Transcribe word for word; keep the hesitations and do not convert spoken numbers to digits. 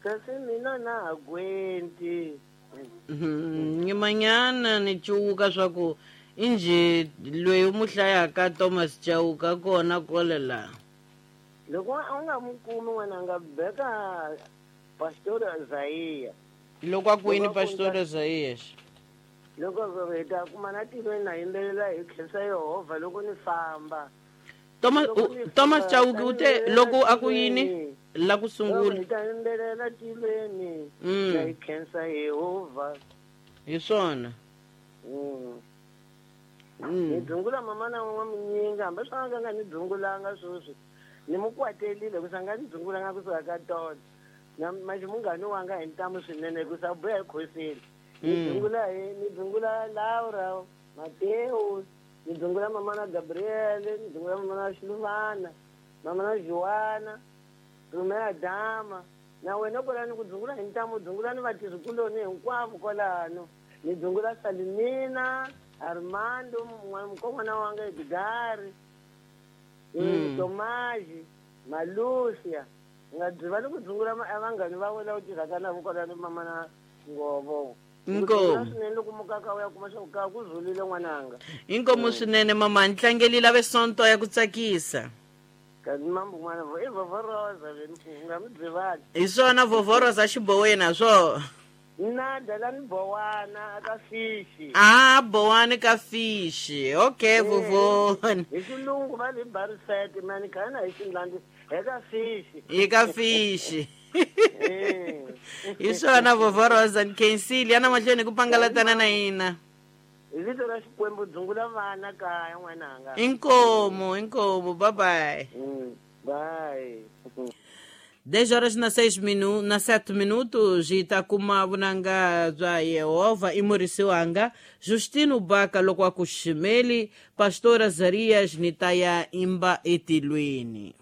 Kasi mina na ha gwenti. Nyimanyana ni cuwuka swa ku injhe loyi u mu hlayaka Thomas Chauke kona kole la. Loko a nga mu kumi n'wananga beka Pastor Isaiah. Loko a kwini Pastor Isaiah? Loko hi ta kuma na tilweni na yimbelela hi khensa Yehovha loko ni famba. Thomas Thomas Chauke u te loko a ku yini la ku sungula? Hi ta yimbelela tilweni na hi khensa Yehovha. Hi swona. Ni dzungula mama na n'wa munyinga hambi swa nga nga ni dzungulanga sweswi. Ni mu kwatelile ku sanga ni dzungulanga kusuka ka tona. Na manje munghani wanga hi ntamu swinene ku sa buya hi khoseni. Ni dzungula hi ni dzungula Laura, Mateo, ni dzungula mama na Gabriele, ni dzungula mama na Xiluvana, mama na Joana, Romeo Dama. Na wena kwalano ku dzungula hi ntamu, dzungula ni vatirhikuloni hinkwavo kwalano. Ni dzungula Salimina, Armando, mukon'wana wanga Edgari, Tomaji, Malusia. Nga byi ni ku dzungula vanghani va wena u tirhaka na vo kwalano mama na Ngovo. Inkomu swinene loko mukaka u ya kuma swa ku ka ku zulile n'wananga. Inkomu swinene mama, ni tlangelile vesonto ya ku tsakisa. Kasi mambo n'wana i vovoroza veni nga mi byivali. Hi swona vovoroza xiboweni swo. Na dala ni bowana ka fishi. Ah, bowani ka fishi. Okay, vovona. Hi xilungu va le barisete mani khana hi xindlandi hi ka fishi. Hi ka fishi. Hi swona vovoroza ni khensile yana mahlweni ku pangalatana na hina. Hi vito ra Xikwembu dzungula vana kaya n'wananga. Inkomu, inkomu, bye bye. Bye. dez horas na seis minu, na sete minutos e ta kuma vunanga bya Yehovha i murisi wanga Justino Baka loko a ku ximeli Pastor Azarias ni ta ya imba etilweni.